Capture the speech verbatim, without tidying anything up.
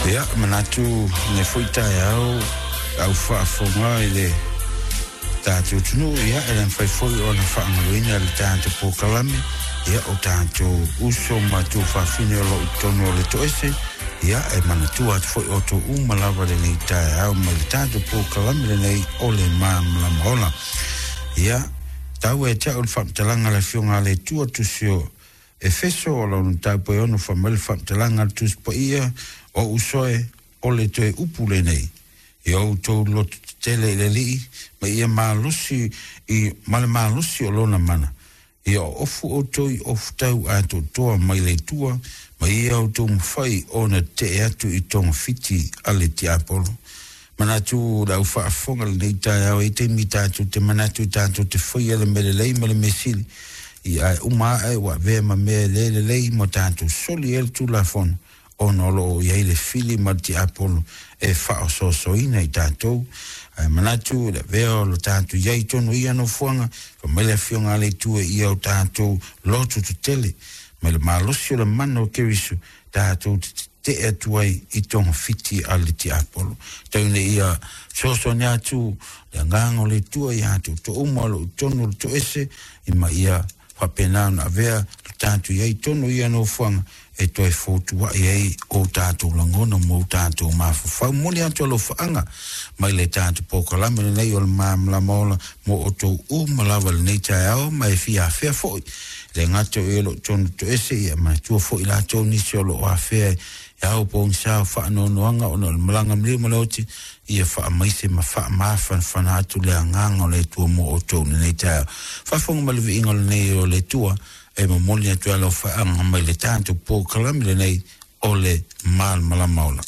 Ia, manatu le foi taeao au faafofoga i le tatou atunuu, ia e le mafai foi ona faagaloina le tatou polokalame, ia o tatou uso ma tuafafine o loo i totonu o le toese, ia e manatua atu foi outou uma lava lenei taeao mai le tatou polokalame lenei o le Malamalama Ola. Ia, tau e te au le faamatalaga a le Afioga a le Atua tusi o Efeso o lona mataupu e ono fai mai le faamatalaga a le Tusi Paia o usoe o le toe upu lenei. Ia outou loto tetele i le Alii ma ia malosi i ma le malosi o lona mana. Ia ofu outou i ofu tau atoatoa mai le Atua ma ia outou mafai ona tetee atu i togafiti a le tiapolo. Manatu le au faafofoga lenei taeao e taimi tatou te manatu tatou te faia le mea lelei ma le mea sili. Ia ae uma ae ua avea ma mea le lelei ma tatou soli ai le tulafono ona o loo i ai le fili ma le tiapolo e faaosoasoaina i tatou. Ae manatu le avea o lo tatou i ai tonu ia nofoaga fai mai le Afioga a le Atua ia o tatou loto tetele mai le malosi o le mana o Keriso tatou te tetee atu ai i togafiti a le tiapolo. Tau ina ia fesoasoani atu le agaga o le Atua ia outou uma o loo i totonu o le toese ma ia faapena ona avea le tatou i ai tonu ia nofoaga e toe fotuai ai o tatou lagona ma o tatou mafaufau. Momoli atu alofaaga mai le tatou polokalame lenei o le Malamalama Ola mo outou uma lava lenei taeao ma e fia afea foi le gata o e o loo tonu toese ia manatua foi latou nisi o loo afea e ao pogisa o faanoanoaga ona o le malaga maliu ma le oti ia faamaise ma faamafanafana atu le agaga o le Atua mo outou lenei taeao. Faafofoga ma le viiga o lenei o le Atua e momoli atu alofaaga mai le tatou polokalame lenei o le Malamalama Ola.